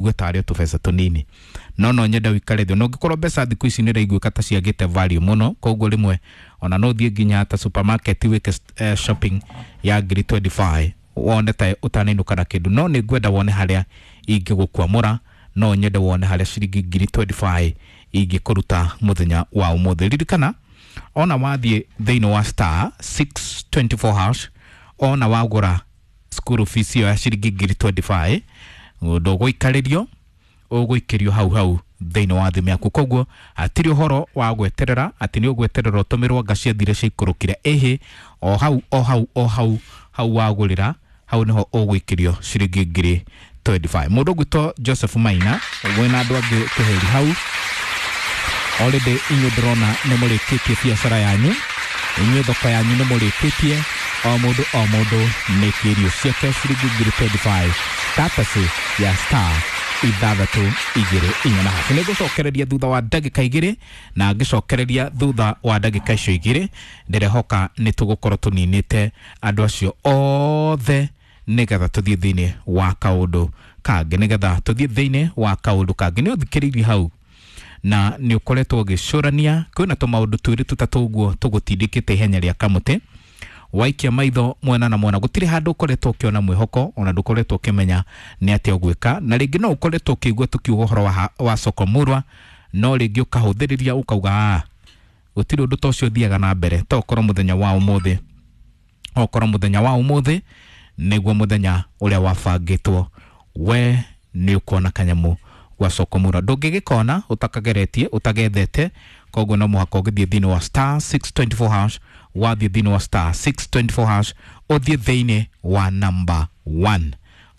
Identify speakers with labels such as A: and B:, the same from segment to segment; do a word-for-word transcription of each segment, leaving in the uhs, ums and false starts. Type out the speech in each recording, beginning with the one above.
A: Ũigue tarĩ o tũbeca tũnini, no no nyende ũikare thĩ. No ũngĩkorwo mbeca thikũ ici nĩ iraiguĩka ta ciagĩte value mũno, koguo rĩmwe ona no ũthiĩ nginya ta supermarket wĩke eh, shopping ya ngiri mĩrongo ĩĩrĩ na ithano wone ta ũtanainũka na kĩndũ. No nĩ ngwenda wone harĩa ingĩgũkwamũra, no nyende wone harĩa ciringi ngiri mĩrongo ĩĩrĩ na ithano ingĩkũruta mũthenya wa ũmũthĩ. Ririkana, ona wathiĩ thĩinĩ wa star six two four hash, ona wagũra school fees ĩyo ya ciringi ngiri mĩrongo ĩĩrĩ na ithano, ndũgũikarĩrio, ũgũikĩrio hau hau thĩinĩ wa thimũ yaku. Koguo hatirĩ ũhoro wa gweterera atĩ nĩ ũgweterera ũtũmĩrwo anga ciathire ciaikũrũkire. Ĩhĩ, o hau o hau o hau hau wagũrĩra, hau nĩho ũgũikĩrio ciringi ngiri mĩrongo ĩĩrĩ na ithano. Mũndũ ũgwĩtwo Joseph Maina wĩna andũ angĩ kĩheri hau already, inyuĩ ndĩrona nĩ mũrĩkĩtie biacara yanyu, inyuĩ thoko yanyu nĩ mũrĩkĩtie, o mũndũ o mũndũ nĩ kĩrio ciake ciringi ngiri mĩrongo ĩĩrĩ na ithano courtesy ya star ithathatũ igĩrĩ inya na haci. Nĩ ngũcokereria thutha wa ndagĩka igĩrĩ, na ngĩcokereria thutha wa ndagĩka icio igĩrĩ, ndĩrehoka nĩ tũgũkorwo tũninĩte andũ acio othe, nĩgetha tũthiĩ thĩinĩ wa kaũndũ kangĩ, nĩgetha tũthiĩ thĩinĩ wa kaũndũ kangĩ. Nĩ ũthikĩrĩirie hau na nĩ ũkoretwo ũgĩcũrania kwĩna tũmaũndũ twĩrĩ tũtatũ ũguo tũgũtindĩkĩte ihenya rĩa kamũtĩ. Waikia maitho mwena na mwena, gũtirĩ handũ ũkoretwo ũkĩona mwĩhoko, ona ndũkoretwo ũkĩmenya nĩ atĩa ũgwĩka. Na rĩngĩ no ũkoretwo ũkĩigua tũkiuga ũhoro wa, wa soko murwa, no rĩngĩ ũkahũthĩrĩria ũkauga, "Ah, gũtirĩ ũndũ ta ũcio ũthiaga na mbere." To ũkorwo mũthenya wa ũmũthĩ, okorwo mũthenya wa ũmũthĩ nĩguo mũthenya ũrĩa wabangĩtwo we nĩ ũkuona kanyamũ gwa soko murwa. Ndũngĩgĩkona ũtakageretie, ũtagethete. Koguo no mũhaka ũgĩthiĩ thĩinĩ wa star six two four hash. Wathiĩ thĩinĩ wa star six two four hash, ũthiĩ thĩinĩ wa number one,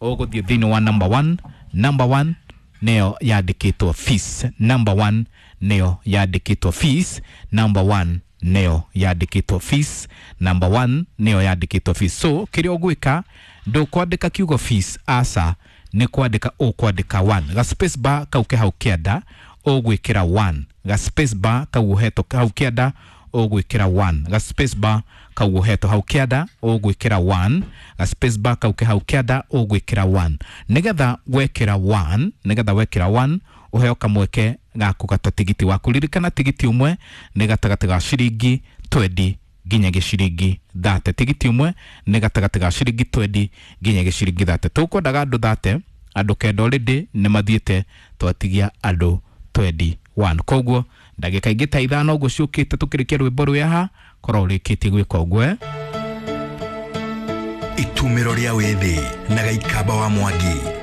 A: ũgũthiĩ thĩinĩ wa number one. Number one nĩyo yandĩkĩtwo fees. Number one nĩyo yandĩkĩtwo fees. Number one nĩyo yandĩkĩtwo fees. Number one nĩyo yandĩkĩtwo fees. So kĩrĩa ũgwĩka, ndũkwandĩka kiugo fees, aca, nĩ kwandĩka ũkwandĩka one. Ga space bar kau ke hau kĩanda, ũgwĩkĩra one. Ga space bar kau ũhetwo hau kĩanda, ũgwĩkĩra one. Ga space bar kau ũhetwo hau kĩanda, ũgwĩkĩra one. Ga space bar kau ke hau kĩanda, ũgwĩkĩra one. Nĩgetha wekĩra one, nĩgetha wekĩra one, ũheo kamweke ga kũgata tigiti waku. Ririkana, tigiti ũmwe nĩ gatagatĩ ga ciringi mĩrongo ĩĩrĩ nginya gĩciringi thate. Tigiti ũmwe nĩ gatagatĩ ga ciringi mĩrongo ĩĩrĩ nginya gĩciringi thate. Tũkwendaga andũ thate, andũ kenda already nĩ mathiĩte, twatigia andũ mĩrongo ĩĩrĩ na ĩmwe. Koguo ndagĩka ingĩ ta ithano ũguo ciũkĩte, tũkĩrĩkia rwĩmbo rwĩ korwo ũrĩkĩtie gwĩka ũguo, eh?
B: Itumĩro rĩa wĩthĩ na Gaikamba wa Mwangi.